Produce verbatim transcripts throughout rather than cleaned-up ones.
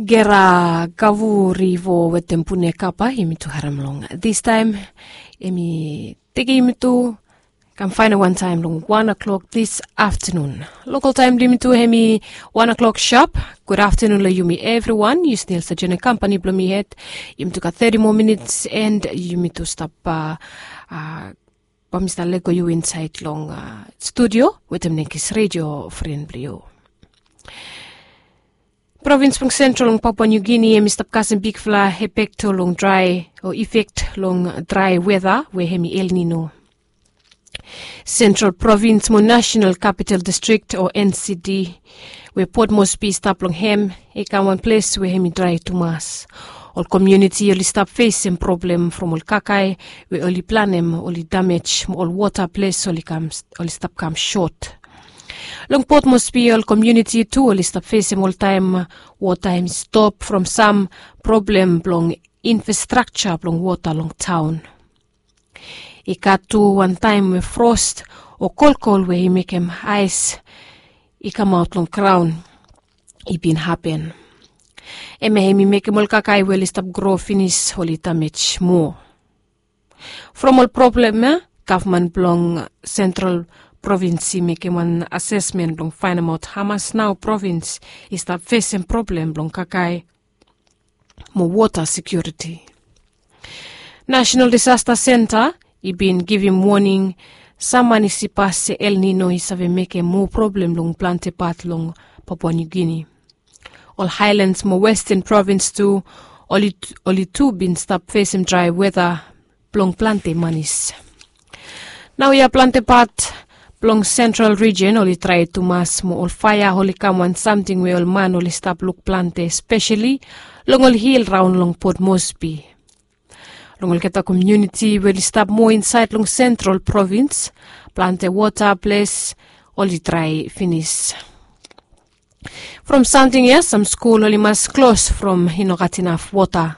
Gera Gavurivo wetem Pune Kapa, yumi tu harem long. This time, emi teke yumi tu kam faina wan taem long wan o'clock this afternoon. Local taem blo yumi tu emi wan o'clock sharp. Good afternoon lo yumi everyone. Yu stil sa join kampani blo mi het. Yumi tu gat thirty more minutes and yumi tu stap, uh, uh, ba mi stap lego yu insaed long, uh, studio wetem nekis radio friend blo yu. Provins blong Central long Papua New Guinea emi stap kasem bigfala efek long drae o efek long drae weta we emi El Nino. Central Provins mo National Capital District o N C D we Port Moresby i stap long hem, i kam wan ples we emi drae tumas. Ol komuniti oli stap fesem problem from ol kakae we oli planem oli damej mo ol wota ples oli kam, oli stap kam sot. Long Port Moresby ol komuniti tu oli stap fesem oltaem wota emi stop from sam problem blong infrastrakja blong wota long taon. I gat tu wan taem we fros o kolkol we i mekem aes i kamaot long graon i bin hapen. Hemia emi mekem ol kakae we oli stap gro finis oli damej moa. From ol problem ya, gavman blong Central Provins i mekem wan asesmen blong faenemaot hamas nao provins i stap fesem problem blong kakae mo wota sekiuriti. National Disaster Center i bin givim woning, sam manis i pas se El Nino i save mekem moa problem long plante pat long Papua New Guinea. Ol Highlands mo Western Provins tu, oli, oli tu bin stap fesem drae weta blong plante manis. Naoia plante pat blong Central Region oli drae tumas mo ol faea oli kam wan samting we ol man oli stap luk plante, espeseli long ol hil raon long Port Moresby. Long olgeta komuniti we oli stap moa insaed long Central Provins, plante wota ples oli drae finis. From samting ya, sam skul oli mas klos from i no gat inaf wota.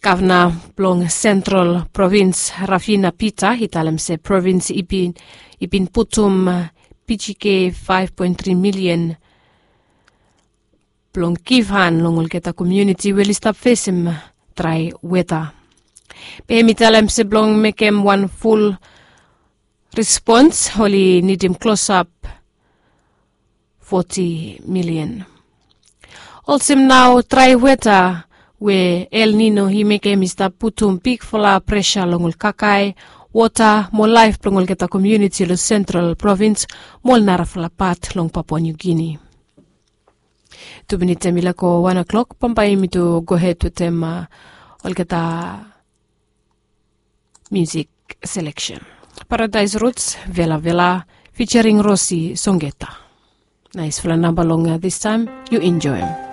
Gavna blong Central Provins, Rafina Peter, i talem se provins i bin, i bin putum, uh, P G K five point three million blong givhan long olgeta komuniti we oli stap fesem drae weta. Be hemi talem se blong mekem wan ful respons oli nidim klosap foti milian. Olsem nao drae weta we El Nino i mekem i stap putum bigfala presa long ol kakae, wota mo laef blong olgeta komuniti long Central Provins mo ol narafala pat long Papua New Guinea. Tu minit hemi lego wan o'clock, bambae yumi tu gohed wetem, uh, olgeta music selection. Paradise Roots, Vela Vela, featuring Rosi Songeta. Naesfala namba long, uh, this time, yu enjoem.